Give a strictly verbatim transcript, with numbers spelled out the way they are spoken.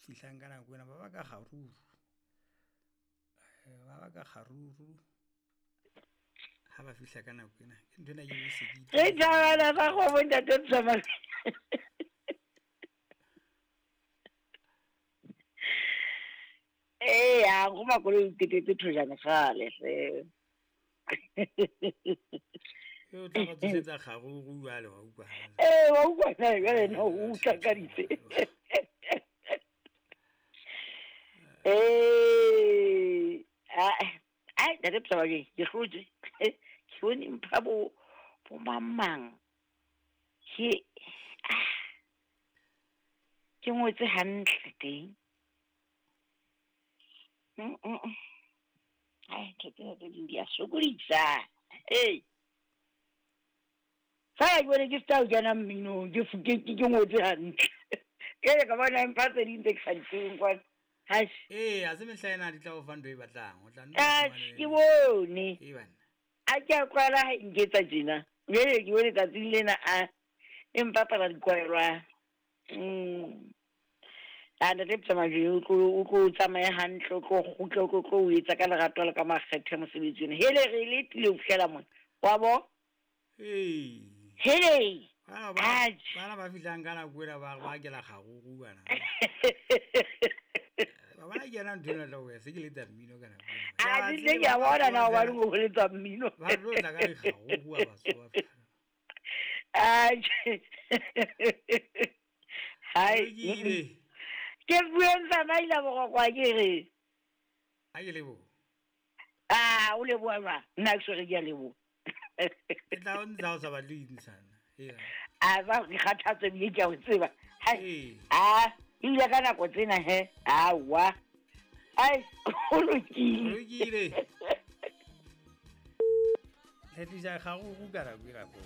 Fihlang ka nako ena ba ba ka kgaruru. Ba ba ka kgaruru ha ba fihla ka nako ena. Ke ntho ena ke e se ke Re tjhabana ba kgomo ntate Tsamai. Eh, ya go makoloi o tetetse thojana kgale hle. E o tla ba tsosetsa kgaruru jwale wa utlwa. Eh, wa utlwa na jwale no o utlwa ka ditse. Eh, ah, ai ntate Tsamai ke hlotse. Ke bone mpha bo bo mang Ke ah, ke ngotse hantle teng. Mm mm. Ai, ntho tsena tse ding di a sokodisa. Hey. Fa ke bone ke feta ho kena mminong, ke ke ke ngotse hantle. Ke ka bona mpha tse ding tse ke sa di tsebeng kwana. Hai. Eh, a se mehla ena di tla o fa ntho e batlang. O tla nna Ah, ke bone. E banna. A ke a kwala ha e nketsa tjena. Jwale ke bone tsatsing lena a e mpapala dikwaelwa. Mm. A ntate Tsamai o tlo o tlo tsamaye hantle, o tlo kgutle, o tlo tlo o etsa ka lerato le ka makgethe mosebetsi ona. Hele re letile ho fihlela mona. Wa bo? Ee. Hele. Bana ba bana ba fihlang ka nako ena ba ba kela kgaruru bana. Ba bona ke yena ntho ena tla o se ke letsa mmino ka nako ena. A di le ke a bona na hobane o letsa mmino. Ba tlo tla ka dikgaruru ha ba tsoha. Atjhe. Hai. Ke bueng tsamaila boroko ke re. A ke leboha. Ah, o leboha jwang? Nna ke sore ke a leboha. Ke tla o ntsha o sa batle ho intshana. Ee. A ba ke kgathatse ebile ke a o tseba. Hai. Ee. Ah, ebile ka nako tsena he. Aowa. Ai, ho lokile. Lokile. Le tlisa kgaruru ka nako ena ko.